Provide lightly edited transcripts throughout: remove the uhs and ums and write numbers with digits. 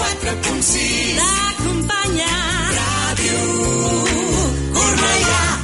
104.6 l'acompanya Ràdio Cornellà.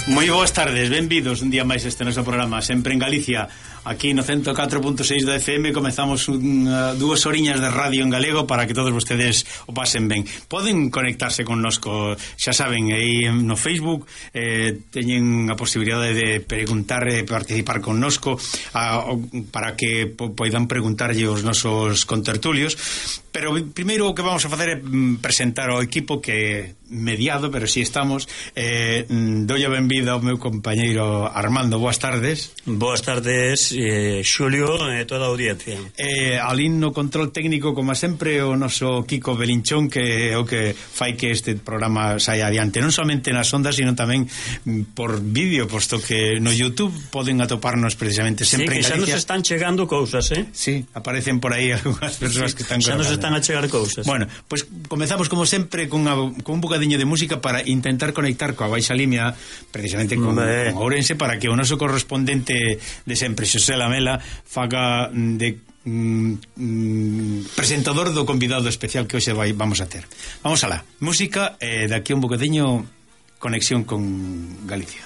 Moi boas tardes, benvidos un día máis este noso programa, sempre en Galicia, aquí no 104.6 da FM. Comezamos 2 horiñas de radio en galego para que todos vostedes o pasen ben. Poden conectarse connosco, xa saben, aí no Facebook, teñen a posibilidade de preguntar e participar connosco para que poidan preguntarlle os nosos contertulios. Pero primeiro o que vamos a facer é presentar ao equipo que mediado, pero si estamos. Dolle a benvida ao meu compañeiro Armando. Boas tardes. Boas tardes, Xulio e toda a audiencia. Alín no control técnico, como sempre, o noso Kiko Belinchón, que é o que fai que este programa saia adiante, non somente nas ondas, sino tamén por vídeo, posto que no YouTube poden atoparnos precisamente sempre en Galicia. Sí, que xa nos están chegando cousas, Sí, aparecen por aí algunhas persoas que están xa nos están a chegar cousas. Bueno, pues comezamos como sempre con un bocadiño de música para intentar conectar coa Baixa Limia, precisamente con Ourense, para que o noso correspondente de sempre, Xosé Lamela, faga de presentador do convidado especial que hoxe vamos a ter. Vamos alá, música, daqui un bocadiño conexión con Galicia.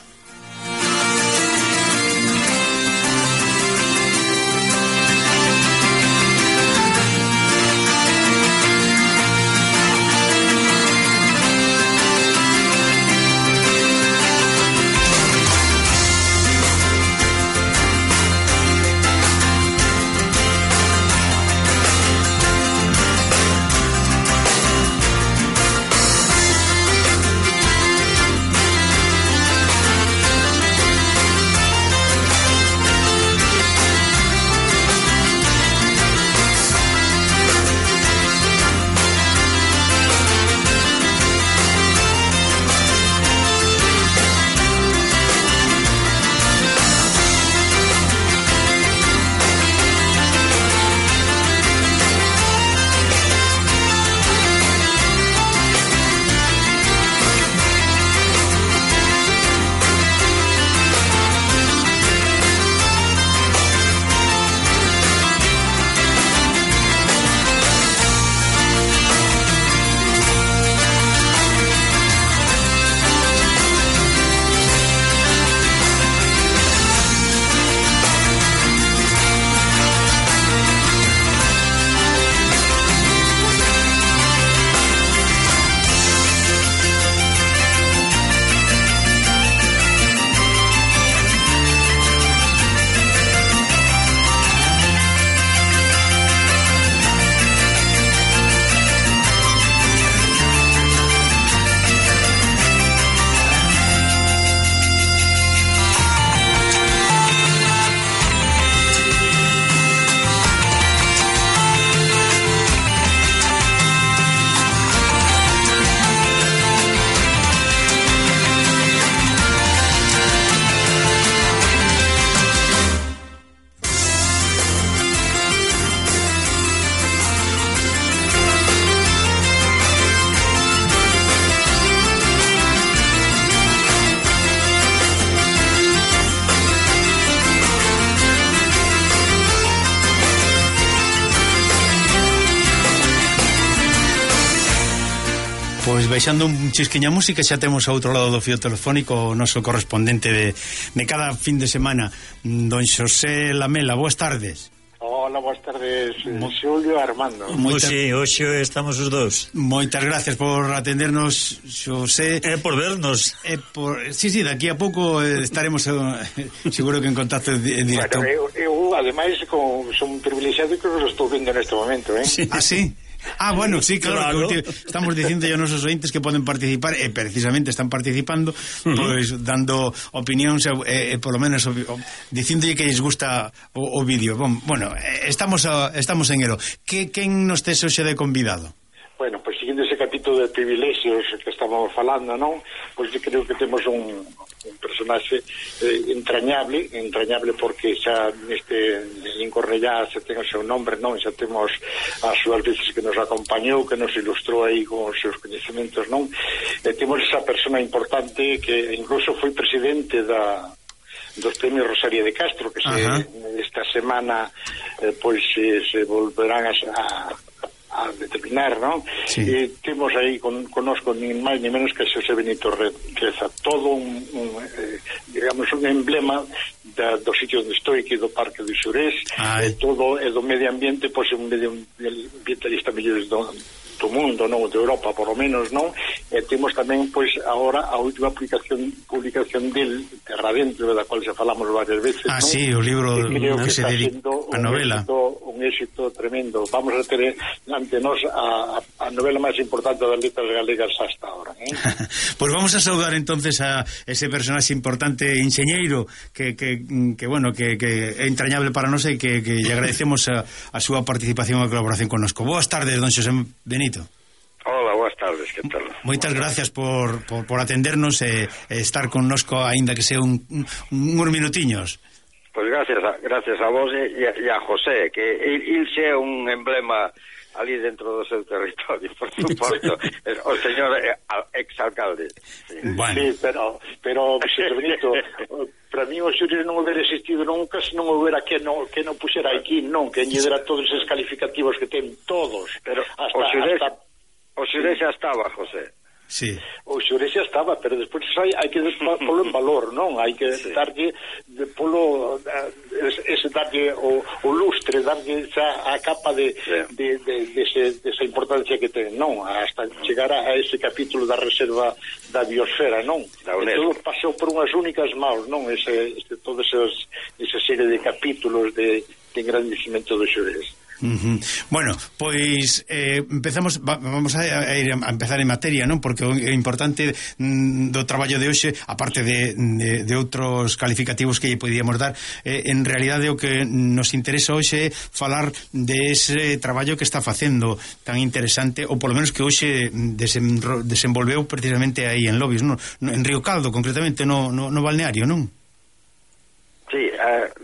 Pois baixando un chisquiña música xa temos ao outro lado do fío telefónico o noso correspondente de cada fin de semana, don Xosé Lamela. Boas tardes. Hola, boas tardes, Xulio e Armando. Hoxe estamos os dous. Moitas gracias por atendernos, Xosé. Por vernos. Sí, aquí a pouco estaremos seguro que en contacto directo. Bueno, eu ademais son privilexiado que os estou vendo neste momento, Sí. Ah, sí? Ah, bueno, sí, claro. Que estamos dicindo a nosos ointes que poden participar e precisamente están participando, pois dando opinións e polo menos dicíndolle que lles gusta o vídeo. Bueno, estamos en elo. Quen nos tes hoxe de convidado? Bueno, pois seguindo ese capítulo de privilexios que estamos falando, non? Pois creo que temos un personaxe entrañable porque xa neste Incornellá xa ten o seu nombre, non? Xa temos as súas veces que nos acompañou, que nos ilustrou aí con os seus coñecementos, non? E temos esa persona importante que incluso foi presidente dos premios Rosalía de Castro, que esta semana pois se volverán a determinar, non? Sí. Temos aí connosco nin máis ni menos que Xosé Benito Reza, todo digamos un emblema do sitio onde estou, que do Parque do Xurés, todo é do medio ambiente, pois un medio ambientalista mellores do mundo, non, de Europa, por lo menos, non? E temos tamén, pois, agora a última publicación del Terra Dentro, da cual xa falamos varias veces, non? Sí, o libro que se dedica a novela. Un éxito tremendo. Vamos a ter ante nós a novela máis importante das letras galegas hasta ahora, Pois vamos a saudar entonces a ese personaxe importante, enxeñeiro, que é entrañable para nós e que lle agradecemos a súa participación e colaboración connosco. Boas tardes, don Xosé Benito. Hola, boas tardes, que tal? Moitas gracias por atendernos e estar connosco, aínda que sea uns minutiños. Pois gracias a vos e a José, que il xe é un emblema ali dentro do seu territorio, por suposto. O señor exalcalde. Sí. Bueno. Sí, pero Xosé Benito, para mí o Xurés non houbera existido nunca se non houbera que non puxera aquí, non, que lle dera todos esos calificativos que ten todos. Pero o Xurés xa estaba, José. Sí. O Xurés xa estaba, pero despois hai que polo en valor, non? Hai que darlle darlle o lustre, darlle a capa de esa importancia que ten, non? Hasta chegar a ese capítulo da reserva da biosfera, non? Todo pasou por unhas únicas maus, non? Toda esa serie de capítulos de engrandecimento do Xurés. Bueno, pois vamos a empezar en materia, non? Porque o importante do traballo de hoxe, aparte de outros calificativos que lle podíamos dar, en realidade o que nos interesa hoxe é falar de ese traballo que está facendo tan interesante, ou polo menos que hoxe desenvolveu precisamente aí en Lobis, non? En Río Caldo, concretamente, no balneario, non? Sí,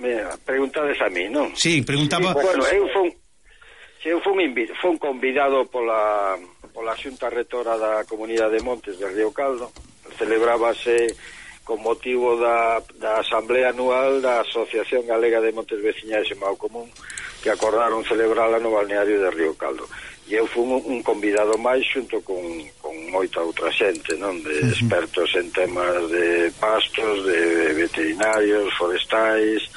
me preguntades a mí, non? Sí, preguntaba... Bueno, eu fui convidado pola Xunta Rectora da Comunidade de Montes de Río Caldo. Celebrábase con motivo da Asamblea Anual da Asociación Galega de Montes Veciñais e Mao Común, que acordaron celebrala no balneario de Río Caldo. E eu fui un convidado máis xunto con moita outra xente, non? De expertos en temas de pastos, de veterinarios, forestais,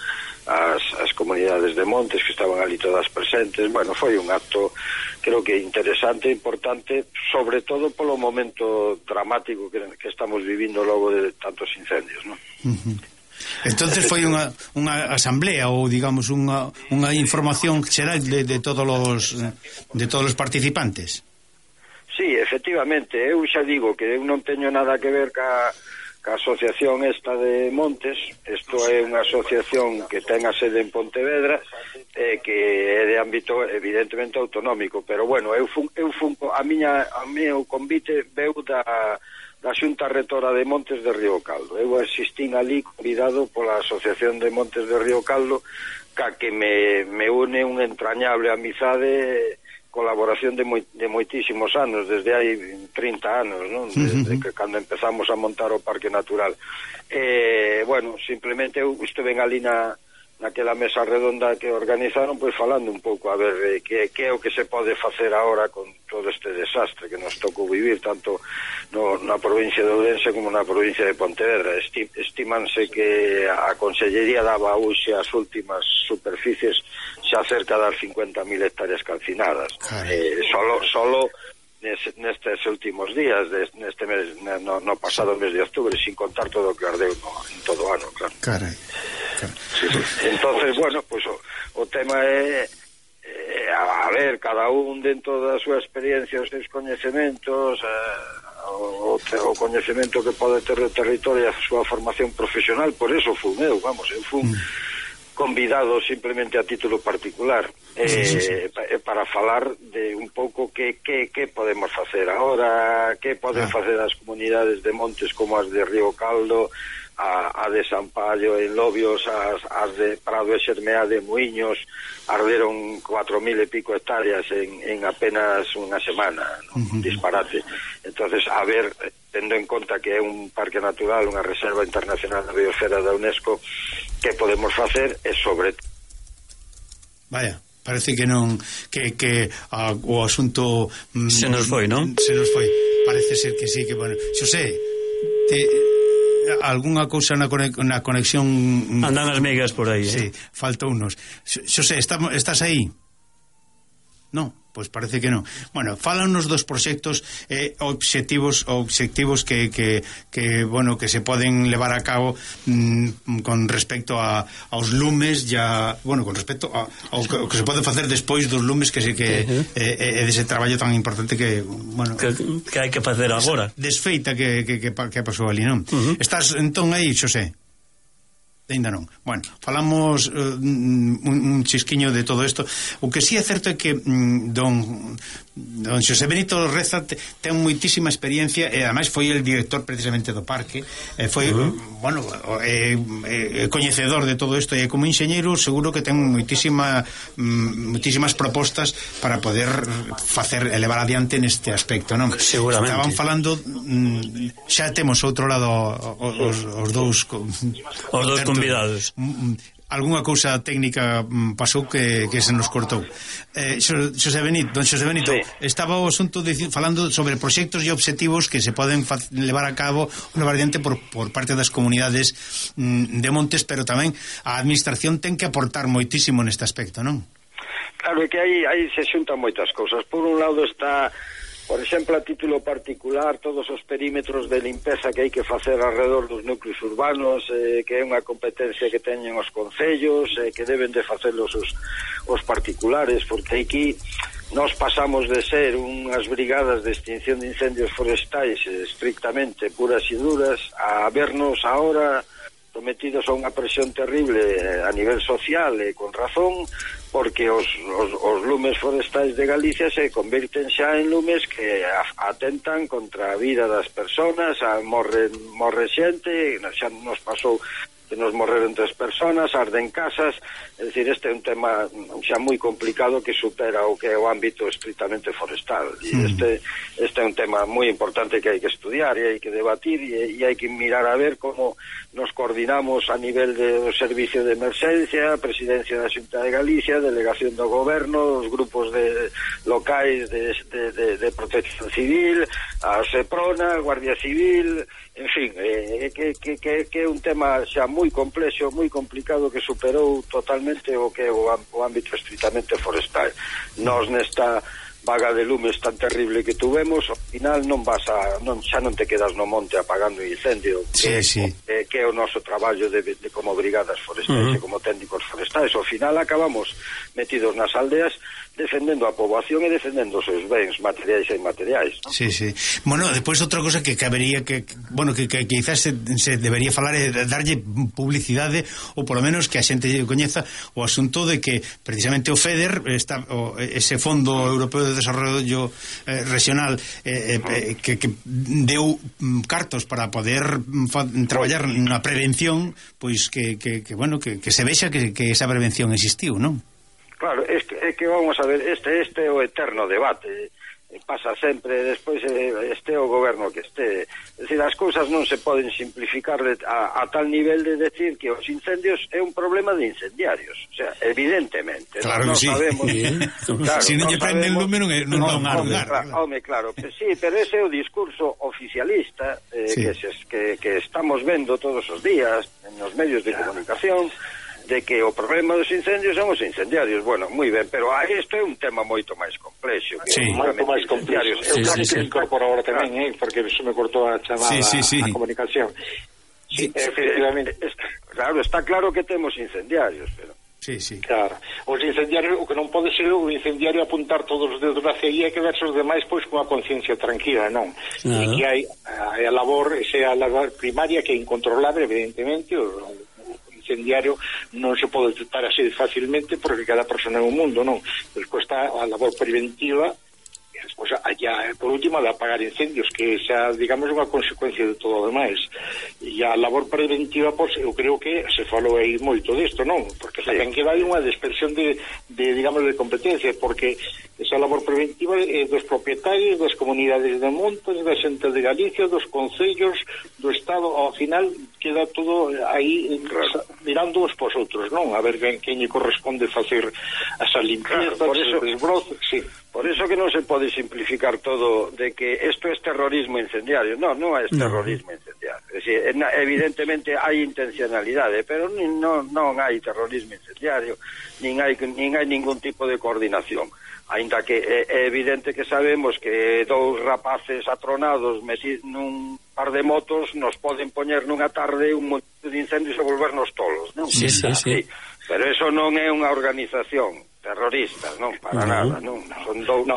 as comunidades de montes que estaban ali todas presentes. Bueno, foi un acto creo que interesante e importante, sobre todo polo momento dramático que estamos vivindo logo de tantos incendios, non? Entonces foi unha asamblea ou digamos unha información xeral de todos os participantes. Sí, efectivamente, eu xa digo que eu non teño nada que ver ca asociación esta de Montes. Isto é unha asociación que ten a sede en Pontevedra, que é de ámbito evidentemente autonómico, pero bueno, eu fun a meu convite veu da Xunta Rectora de Montes de Río Caldo. Eu asistín ali convidado pola Asociación de Montes de Río Caldo, que me une unha entrañable amizade, colaboración de moitísimos anos, desde hai 30 anos, non? Desde que cando empezamos a montar o Parque Natural. Bueno, simplemente eu estuve ali na naquela mesa redonda que organizaron, pois falando un pouco a ver que é o que se pode facer agora con todo este desastre que nos tocou vivir tanto na provincia de Ourense como na provincia de Pontevedra. Estimanse que a Consellería daba hoxe as últimas superficies xa cerca das 50.000 hectáreas calcinadas. Solo nestes últimos días neste mes, no pasado mes de octubre, sin contar todo o que ardeu en todo o ano, claro. Carai. Sí. Entonces, bueno, pues o tema é a ver, cada un dentro da súa experiencia, os seus coñecementos, o coñecemento que pode ter o territorio e a súa formación profesional. Por eso fui eu fui convidado simplemente a título particular para falar de un pouco que podemos facer agora, que poden facer as comunidades de montes como as de Río Caldo, a de Sampaio en Lobios, as de Prado e Xermeá de Muiños, arderon 4.000 e pico hectáreas en apenas unha semana, un disparate. Entonces, a ver, tendo en conta que é un parque natural, unha reserva internacional de biosfera da UNESCO, que podemos facer é sobre... Vaya, parece que non o asunto se nos foi, non? Se nos foi. Parece ser que sí, que bueno. Xosé, algunha cousa na conexión andan as megas por aí, sí, falta unos. Xosé, estás aí? No, pois parece que non. Bueno, fálanos dos proxectos obxectivos que bueno, que se poden levar a cabo con respecto aos lumes, bueno, con respecto ao que se pode facer despois dos lumes, que dese traballo tan importante que, bueno, que hai que facer agora. Desfeita que pasou ali, non? Estás entón aí, Xosé? Ainda non. Bueno, falamos un chisquiño de todo isto. O que sí é certo é que don Xosé Benito Reza ten moitísima experiencia e ademais foi el director precisamente do parque, foi bueno, coñecedor de todo isto, e como enxeñeiro seguro que ten moitísimas propostas para poder facer elevar adiante neste aspecto, non? Seguramente. Estaban falando, xa temos outro lado os dous convidados. Algúnha cousa técnica pasou que se nos cortou. Don Xosé Benito, sí. Estaba o asunto falando sobre proxectos e obxectivos que se poden levar a cabo unha variante por parte das comunidades de montes, pero tamén a administración ten que aportar moitísimo neste aspecto, non? Claro, é que aí se xuntan moitas cousas. Por un lado está, por exemplo, a título particular, todos os perímetros de limpeza que hai que facer alrededor dos núcleos urbanos, que é unha competencia que teñen os concellos, que deben de facelos os particulares, porque aquí nós pasamos de ser unhas brigadas de extinción de incendios forestais estrictamente puras e duras a vernos ahora sometidos a unha presión terrible a nivel social e con razón, porque os lumes forestais de Galicia se convirten xa en lumes que atentan contra a vida das persoas, morre xente, xa nos pasou que nos morreron 3 personas, arden casas, é dicir, este é un tema xa moi complicado que supera o que é o ámbito estritamente forestal, e este é un tema moi importante que hai que estudiar e hai que debatir e hai que mirar a ver como nos coordinamos a nivel do servicio de emerxencia, Presidencia da Xunta de Galicia, Delegación do Goberno, os grupos locais de Protección Civil, a Seprona, Guardia Civil, en fin, que é un tema xa moi complexo, moi complicado, que superou totalmente o que é o ámbito estritamente forestal. Nos nesta vaga de lumes tan terrible que tuvemos, ao final xa non te quedas no monte apagando incendio, que é o noso traballo de como brigadas forestais e como técnicos forestais. Ao final acabamos metidos nas aldeas defendendo a poboación e defendendo os seus bens materiais e inmateriais, ¿no? Sí. Bueno, depois outra cosa que cabería que quizás se debería falar é darlle publicidade, ou polo menos que a xente coñeza o asunto de que precisamente o FEDER ese Fondo Europeo de Desarrollo Regional que deu cartos para poder traballar na prevención, pois que se vexa que esa prevención existiu, non? Claro, é que vamos a ver, este é o eterno debate, pasa sempre, despois este o goberno que este, é dicir, as cousas non se poden simplificar a tal nivel de decir que os incendios é un problema de incendiarios, o sea, evidentemente claro non que sí. Sabemos, claro, si non lle prende el lume non van a lugar. Home, claro, sí, pero ese é o discurso oficialista que estamos vendo todos os días nos medios de comunicación, de que o problema dos incendios son os incendiarios. Bueno, moi ben, pero isto é un tema moito máis complexo. Moito máis complexo. Eu creo que incorporo agora tamén, porque se me cortou a chamada a comunicación. Sí, efectivamente. Claro, está claro que temos incendiarios, pero... Sí. Claro. Os incendiarios, o que non pode ser o incendiario apuntar todos os dedos na ceguía e quedarse os demais pois con a conciencia tranquila, non? E que hai a labor, a labor primaria que é incontrolable, evidentemente, o incendiario non se pode detectar así facilmente porque cada persona é un mundo, non? Despois está a labor preventiva e despois allá, por último, de apagar incendios, que xa, digamos, unha consecuencia de todo o demais. E a labor preventiva, pois, eu creo que se falou aí moito disto, non? Porque tamén queda aí unha dispersión de digamos, de competencias, porque esa labor preventiva é dos propietarios, das comunidades de montes, da xente de Galicia, dos concellos, do Estado, ao final queda todo aí mirando uns pos outros, non? A ver quen lle corresponde facer esa limpieza, esos desbrozos, sí. Por eso que non se pode simplificar todo de que isto é terrorismo incendiario. Non é terrorismo incendiario. Es decir, evidentemente hai intencionalidade, pero non hai terrorismo incendiario, nin hai ningún tipo de coordinación. Ainda que é evidente que sabemos que dous rapaces atronados metidos nun par de motos nos poden poñer nunha tarde un montón de incendios e volvernos tolos, non? Sí. Pero eso non é unha organización terrorista, non, para nada, non. Son dous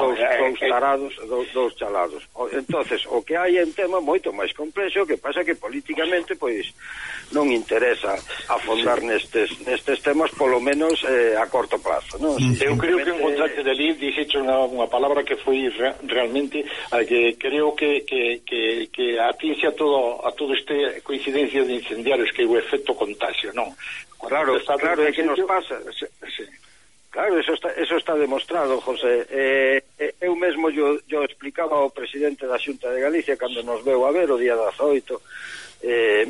tarados, dous chalados. Entonces, o que hai en tema moito máis complexo, que pasa que políticamente pois non interesa afondar nestes temas, polo menos a corto plazo, non? Eu creo que encontraste de ali, dixeche unha palabra que foi realmente a que creo que atinxe a todo este coincidencia de incendiarios, que é o efecto contagio, non? Claro, é que nos pasa. Sí. Claro, eso está demostrado, José. Eu mesmo yo explicaba ao presidente da Xunta de Galicia cando nos veu a ver o día 18.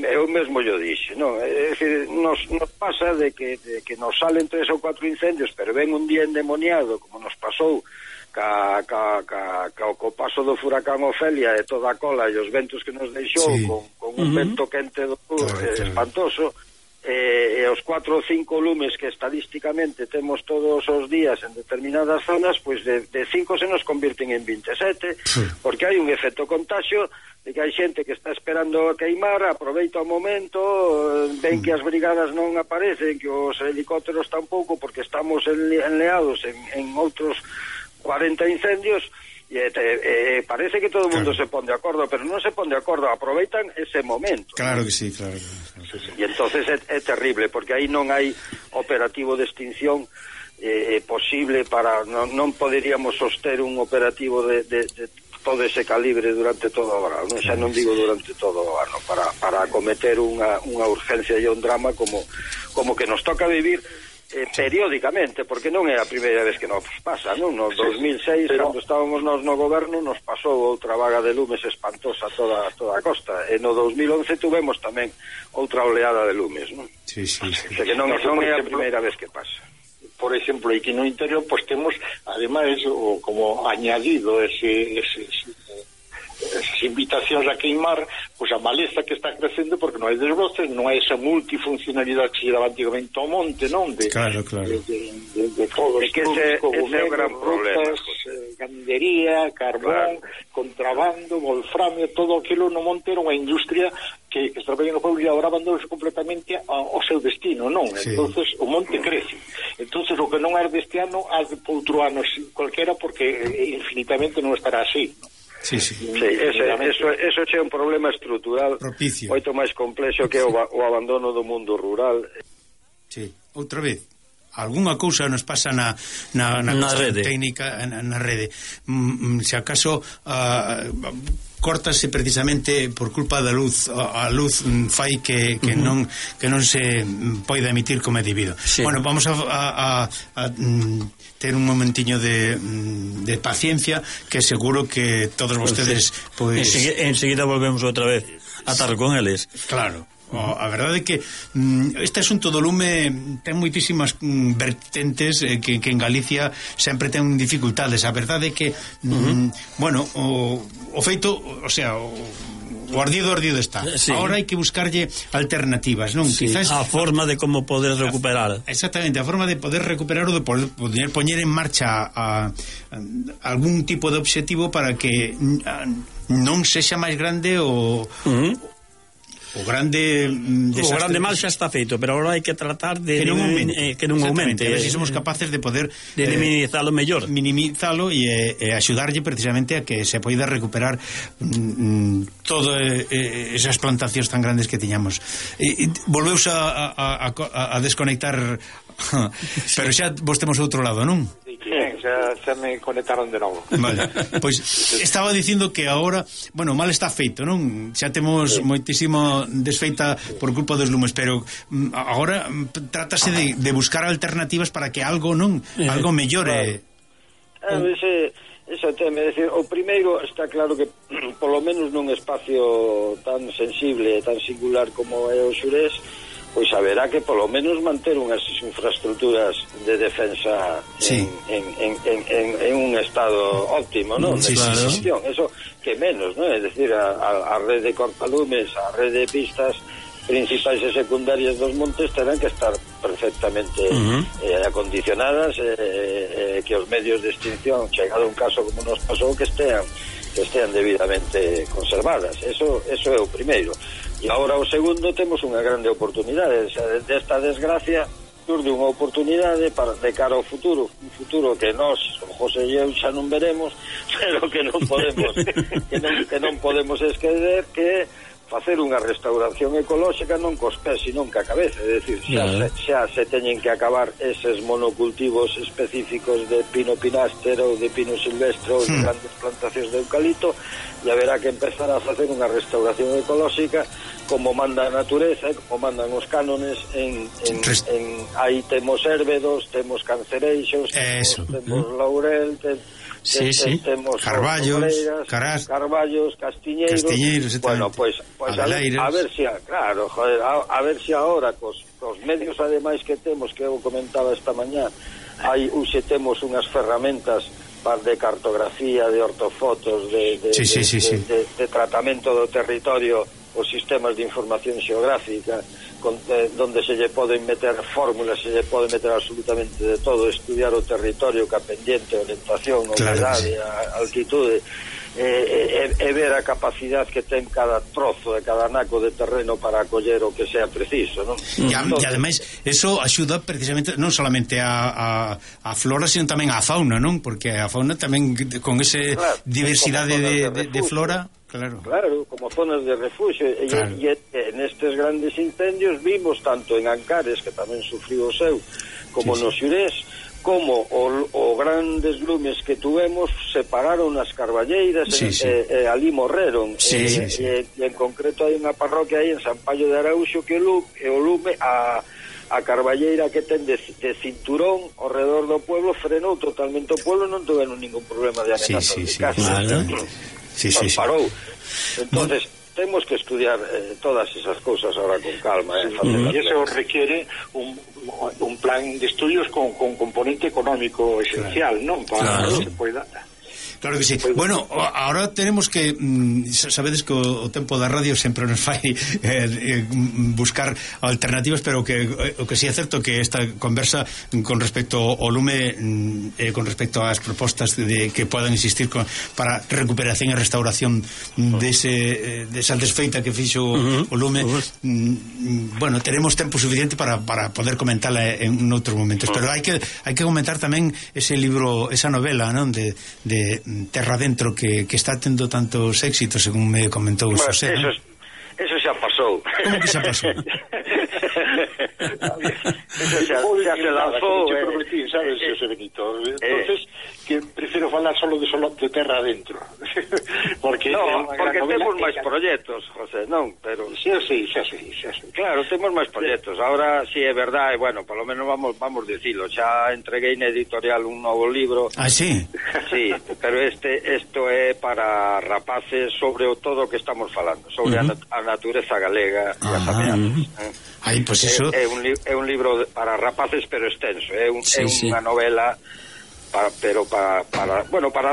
Eu mesmo yo dixe, non? É dicir, nos pasa de que nos salen 3 ou 4 incendios, pero ven un día endemoniado, como nos pasou co paso do furacán Ofelia e toda a cola e os ventos que nos deixou, con un vento quente do sur espantoso, e os 4 ou 5 lumes que estadísticamente temos todos os días en determinadas zonas, pois de 5 se nos convirten en 27, porque hai un efecto contagio de que hai xente que está esperando a queimar, aproveita o momento, ven que as brigadas non aparecen, que os helicópteros tampouco, porque estamos enleados en outros 40 incendios, e parece que todo o mundo se pon de acordo, pero non se pon de acordo, aproveitan ese momento. Claro que sí. E entonces é terrible, porque aí non hai operativo de extinción posible para... Non poderíamos soster un operativo de todo ese calibre durante todo o verano, xa non digo durante todo o ano, para acometer unha urgencia e un drama como que nos toca vivir periódicamente, porque non é a primeira vez que nos pasa, non? No 2006, cando estábamos nos no goberno, nos pasou outra vaga de lumes espantosa toda a costa, e no 2011 tuvemos tamén outra oleada de lumes, non? Sí. Que non é a primeira vez que pasa. Por exemplo, aquí no interior, pues temos, ademais, como añadido esas invitacións a queimar, pois a maleza que está crecendo porque non hai desbroces, non hai esa multifuncionalidade que se daba antigamente ao monte, non? Claro. De todos os ese é o gran problema. Gandería, carbón, contrabando, wolframio, todo aquilo no monte era unha industria que estaba no pueblo e agora abandonou completamente ao seu destino, non? Entonces o monte crece. Entonces o que non é deste ano, há de outro ano cualquiera, porque infinitamente non estará así, non? Sí, eso é un problema estrutural propicio, moito máis complexo que o abandono do mundo rural. Sí, outra vez algunha cousa nos pasa na rede técnica, na rede. Se acaso córtase precisamente por culpa da luz. A luz fai que non se poida emitir como é debido. Sí. Bueno, vamos a ter un momentiño de paciencia, que seguro que todos vostedes pois... enseguida volvemos outra vez a estar con eles. Claro. A verdade é que este asunto do lume ten moitísimas vertentes que en Galicia sempre ten dificultades. A verdade é que bueno, o feito, o sea, o ardido está. Sí. Ahora hai que buscarlle alternativas, non? Sí. Quizás a forma de como poder recuperar. Exactamente, a forma de poder recuperar ou de poder poñer en marcha algún tipo de obxectivo para que non sexa máis grande o grande mal xa está feito, pero agora hai que tratar de que non aumente, a ver se somos capaces de poder de minimizalo e axudarlle precisamente a que se poida recuperar todas esas plantacións tan grandes que tiñamos. Volveuse a desconectar pero xa vos temos outro lado, non? xa me conectaron de novo. Vale, pois estaba dicindo que agora, bueno, mal está feito, non? Xa temos moitísimo desfeita por culpa dos lumes, pero agora trátase de buscar alternativas para que algo algo mellore. Ese tema, é dicir, o primeiro está claro que polo menos nun espacio tan sensible e tan singular como é o Xurés, pois haberá que polo menos manter unhas infraestructuras de defensa en un estado óptimo, non? Sí, claro. Eso que menos, non? É dicir, a rede de cortalumes, a rede de pistas principais e secundarias dos montes terán que estar perfectamente acondicionadas, que os medios de extinción, chegado un caso como nos pasou, que estean debidamente conservadas. Eso é o primeiro. E agora o segundo, temos unha grande oportunidade. Desta desgracia surde unha oportunidade de cara ao futuro, un futuro que nós, José e eu, xa non veremos, pero que non podemos que non podemos esquecer, que facer unha restauración ecolóxica non cos pés, sino ca cabeza. É dicir, xa se teñen que acabar eses monocultivos específicos de pino pináster ou de pino silvestre ou de grandes plantacións de eucalipto, e haberá que empezar a facer unha restauración ecolóxica como manda a natureza, como mandan os cánones aí temos érbedos, temos cancereixos, temos laurel, temos carballos, castiñeiros, bueno, pois a ver se a ver se agora cos medios ademais que temos, que eu comentaba esta mañá, hoxe temos unhas ferramentas de cartografía, de ortofotos, de tratamento do territorio, os sistemas de información xeográfica, donde se lle poden meter fórmulas, se lle pode meter absolutamente de todo, estudiar o territorio, ca pendiente, orientación, humedade, altitude, e ver a capacidade que ten cada trozo e cada naco de terreno para acoller o que sea preciso, non? E ademais, eso axuda precisamente non solamente a flora, sino tamén a fauna, non? Porque a fauna tamén, con ese diversidade de flora, claro, como zonas de refugio, e nestes grandes incendios vimos tanto en Ancares, que tamén sufriu o seu, como no Xurés, como o grandes lumes que tuvemos separaron as carballeiras e ali morreron. E en concreto hai unha parroquia aí en San Paio de Araúxo que o lume a carballeira que ten de cinturón ao redor do pueblo frenou totalmente o pueblo, non tuveron ningún problema de amenaza de casa. Parou. Entonces temos que estudiar todas esas cousas ahora con calma, e eso requiere un plan de estudios con componente económico esencial, non? Para que se poida. Claro que sí. Bueno, ahora tenemos que sabedes que o tempo da radio sempre nos fai buscar alternativas, pero que o que si é certo que esta conversa con respecto ao lume, con respecto ás propostas que podan existir para recuperación e restauración desa desfeita que fixo o lume, bueno, teremos tempo suficiente para poder comentarla en outros momentos, pero hai que comentar tamén ese libro, esa novela, non, de Terra Dentro, que está tendo tantos éxitos, según me comentou Xosé. Eso xa pasou. Como que xa pasou? Eso xa se lanzou. Te prometí, sabes, José Benito. Entonces, que prefiero falar solo de terra adentro. Porque temos máis proxectos, José, non? Pero xa sei. Claro, temos máis proxectos. Ahora, si é verdade, bueno, polo menos vamos dicilo. Xa entreguei na editorial un novo libro. Ah, sí? Sí, pero isto é para rapaces sobre todo o que estamos falando, sobre a natureza galega e as ameazas. Ai, pois iso... É un libro para rapaces, pero extenso. É unha novela para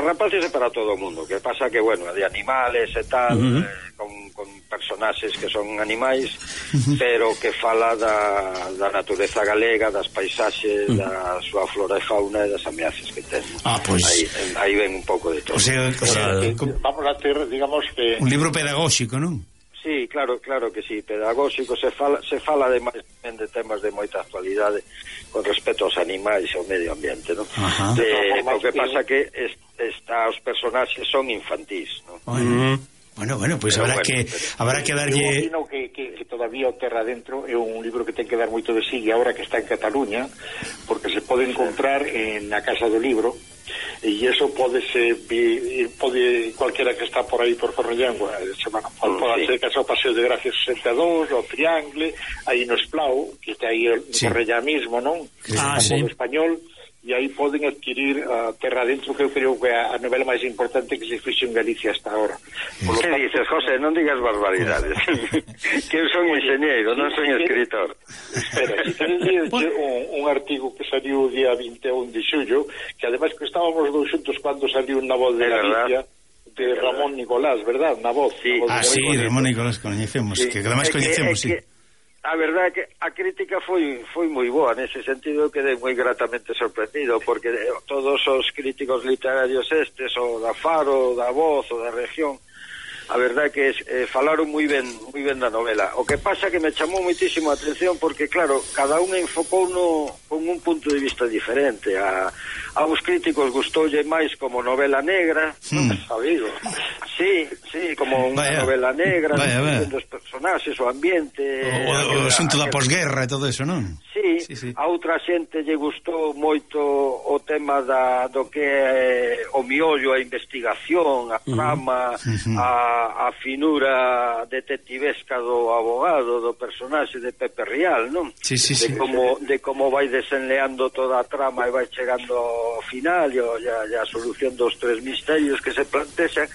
rapaces e para todo o mundo. Que pasa que, bueno, de animales e tal, con personaxes que son animais, pero que fala da natureza galega, das paisaxes, da súa flora e fauna e das ameazas que ten. Ah, pois... Aí ven un pouco de todo. O sea, vamos a ter, digamos que... un libro pedagóxico, non? Sí, claro que sí, pedagóxico, se fala de temas de moita actualidade con respecto aos animais e ao medio ambiente, non? O que pasa que os personaxes son infantís, non? Bueno, pois habrá que darlle... Eu opino que todavía o Terra Adentro é un libro que ten que dar moito de sí, e agora que está en Cataluña, porque se pode encontrar na Casa do Libro, e iso pode cualquiera que está por aí por Cornellangua, pode ser que o Paseo de Gracia 62, o Triangle, aí no Esplau, que está aí en Cornellá mismo, non? Sí. Español, e aí poden adquirir a Terra Adentro, que eu creo que é a novela máis importante que se fixo en Galicia hasta ahora. Que dices, José? Non digas barbaridades. Que eu son enxeñeiro, non son escritor. Espera, si tenéis un artigo que saliu o día 21 de xullo, que ademais que estábamos dous xuntos cando saliu Na Voz de Galicia, de Ramón Nicolás, verdad? Na Voz. Sí, Ramón Nicolás coñecemos, que ademais coñecemos, sí. A verdade é que a crítica foi moi boa nese sentido, quedei moi gratamente sorprendido, porque todos os críticos literarios o da Faro, da Voz, o da Región, a verdade é que falaron moi ben da novela. O que pasa que me chamou moitísimo a atención porque, claro, cada un enfocou con un punto de vista diferente. A uns críticos gustoulle máis como novela negra, sabido. Sí, como unha novela negra, os personaxes, o ambiente, o asunto da posguerra e todo eso, non? Sí. A outra xente lle gustou moito o tema do que é o miollo, a investigación, a trama, a finura detectivesca do abogado, do personaxe de Pepe Rial, non? De como vai desenleando toda a trama e vai chegando ao final e a solución dos tres misterios que se plantexan.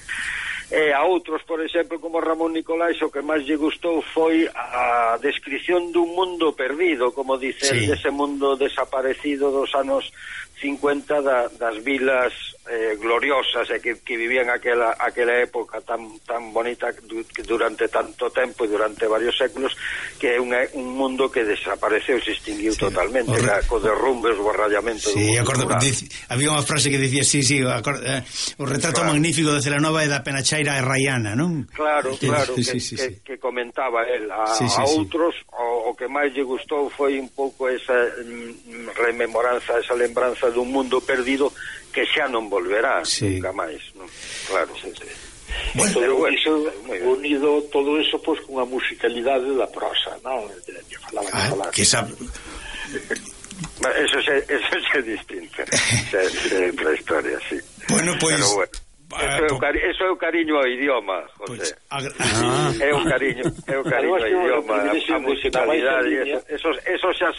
A outros, por exemplo, como Ramón Nicolás, o que máis lle gustou foi a descripción dun mundo perdido, como dice, dese mundo desaparecido dos anos 50 das vilas gloriosas que vivían aquela época tan bonita durante tanto tempo e durante varios séculos, que é un mundo que desapareceu, se extinguiu totalmente, co derrumbe, o barrallamento. Sí, acordo, había unha frase que dicía, o retrato magnífico de Celanova e da Penachaira e Rayana, non? Claro, que comentaba el. A outros, o que máis lle gustou foi un pouco esa rememoranza, esa lembranza dun mundo perdido que xa non volverá nunca máis, non? Claro, Bueno, iso unido todo eso pois con a musicalidade da prosa, non? Que falaba que sabe. Eso é distinto. É outra historia, sí. Bueno, pois Eso é o cariño ao idioma, José. É o cariño ao idioma, a musicalidade, eso xa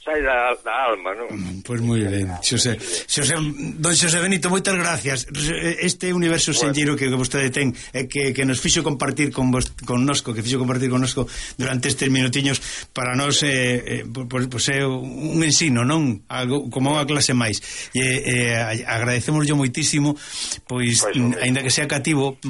sai da alma, non? Pois moi ben. Don Xosé Benito, moitas gracias. Este universo senlleiro que vostede ten que nos fixo compartir connosco, durante estes minutiños, para nós é un ensino, non? Algo como unha clase máis. Agradecemoslle moitísimo, pois aínda que sea cativo,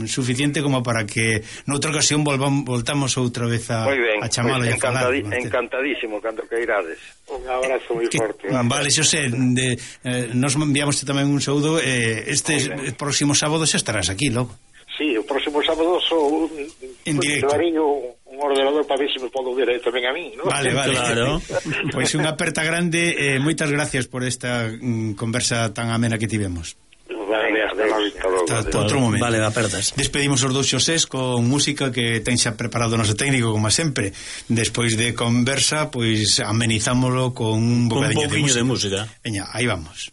suficiente como para que noutra ocasión voltamos outra vez a chamalo e a falar. Encantadísimo, cando que irades. Un abrazo moi forte. Vale, Xosé, nos enviamos tamén un saúdo. Este próximo sábado xa estarás aquí, logo. Sí, o próximo sábado sou en directo. Un ordenador para ver se me podo ver tamén a mí, ¿no? Vale, claro. Pois unha aperta grande, moitas gracias por esta conversa tan amena que tivemos. Vale, hasta logo. Hasta outro momento. Vale, apertas. Despedimos os dous Xosés con música que ten xa preparado o noso técnico, como sempre. Despois de conversa, pois amenizámoslo con un bocadiño de música. Veña, aí vamos.